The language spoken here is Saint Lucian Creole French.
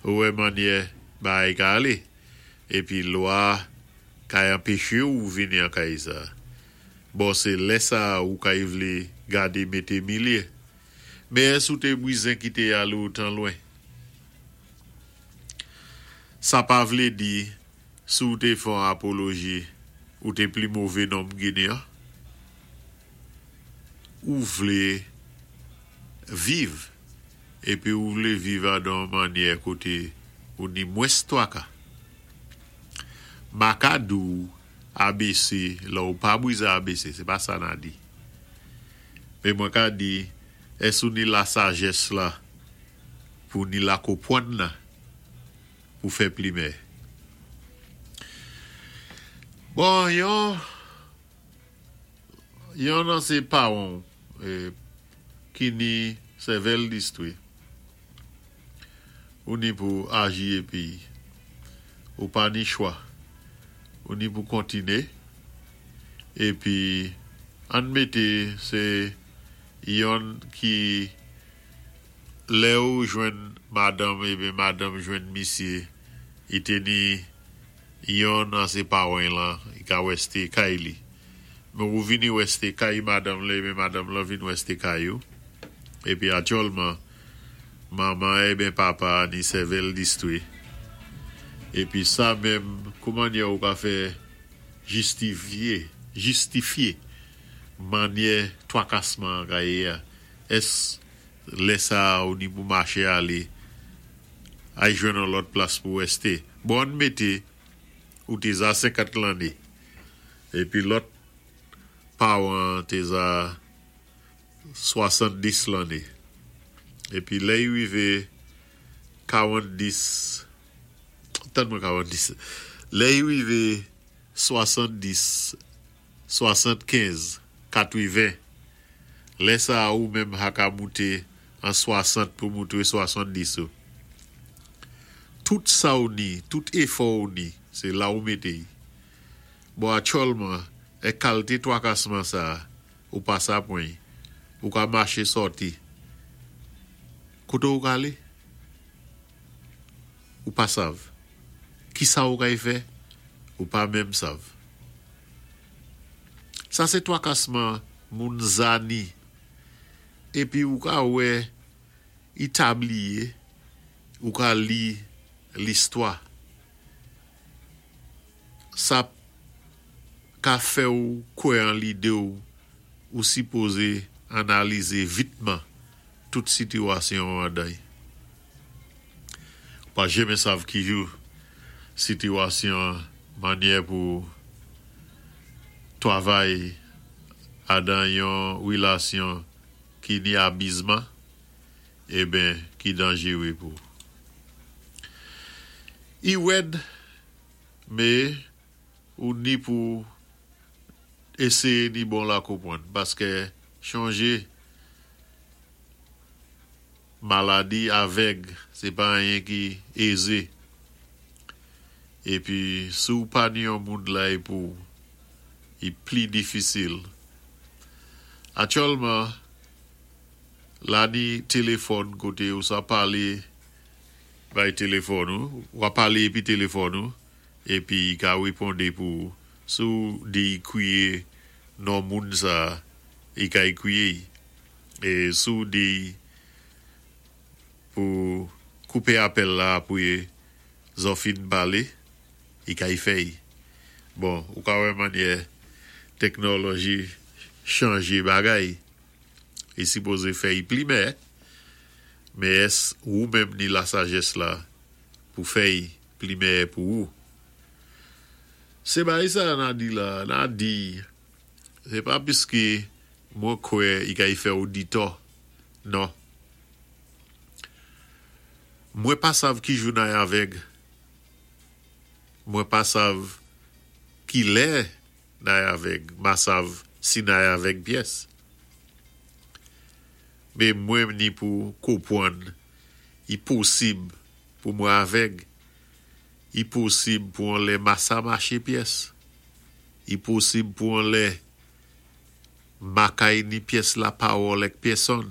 Ou wè mannyè bagay ka alé, épi lwa kay anpeché ou vini an kay sa. Bon sé lè sa ou kay vlé gadé mété milyé. Men ès ou té bwizen kité alé otan lwen? Sa pa vlé di si ou té fè on apoloji ou té pli mové nonm Ginen an. Ou vlé viv épi ou vlé viv adan on mannyè koté ou ni mwens twaka. Ma ka di ou ABC lè ou pa bwizen ABC, sé pa sa na di. Men mwen ka di ès ou ni lasajès la pou ni lakopwann la pou fè pli mèyè. Bon, yon yon nan sé pawan ou ki ni sèvèl distwé, ou ni pou aji épi ou pa ni chwa, ou ni pou kontiné épi ann mété sé yonn ki lè ou jwenn madanm eben madanm jwenn misyé i té ni yonn an sé pawan lan i ka wè sté kay li men ou vini wè sté kay madanm lan eben madanm lan vin wè sté kay ou épi atyòlman manman eben papa ni sèvèl distwé épi sa menm kou mannyè ou ka fè jistifyé jistifyé mannyè twakasman an ka yé a ès Lè sa a ou ni pou maché alé ay jwenn on lòt plas pou rèsté. Bon ann mété ou té za 50 lanné épi lòt pawan an té za 70 lanné. Épi lè y rivé 40, tann mwen 40, lè y rivé 70, 75, 80, Lè sa a ou menm ha ka moute an 60 pou moutre 70 ou. Tout sa ou ni, tout éfò ou ni, sé la ou mété y. Bon atyòlman, è kalté twakasman sa a, ou pa sa pwan y. Ou ka maché sòti. Koté ou ka alé? Ou pa sav. Kisa ou kay fè? Ou pa menm sav. Sa sé twakasman moun zani. Épi ou ka wè i tabliye, ou ka li listwa. Sa ka fè ou kwè an lidé ou, ou sipozé analizé vitman tout sitiwasyon ou andan y. Ou pa jenmen sav ki jou sitiwasyon an mannyè pou twavay adan yon relasyon ki ni abizman eben ki danjere pou I wèd me ou ni pou eseye ni bon la konpwann paskè chonje Maladi avèg se pa anyen ki eze. Epi si w pa ni yon moun lay pou w, i pli difisil. Atyòlman, la ni telefòn kote ou sa pale bay telefòn ou, wa pale epi telefòn ou, epi i ka reponde pou ou. Si w di i kriye non moun sa, i ka i kriye i. E si w di pou koupe apèl la apre zò fin pale, i kay fè y. Bon, ou ka wè mannyè teknòlòji chanje bagay. I sipoze fè y pli mè, men ès wou menm ni lasajès la pou fè y pli mèyè pou wou? Se bagay sa a na di la a, na di se pa piske Mwen kwè i kay fè ou ditò non. Mwen pa sav ki jou nay avèg. Mwen pa sav ki lè nay avèg ma sav si nay avèg pyès. Me mwen ni pou kopwann i posib pou mwen avèg. I posib pou on lè masa maché pyès. I posib pou on lè Makay ni pyès lapawòl èk pyèsonn.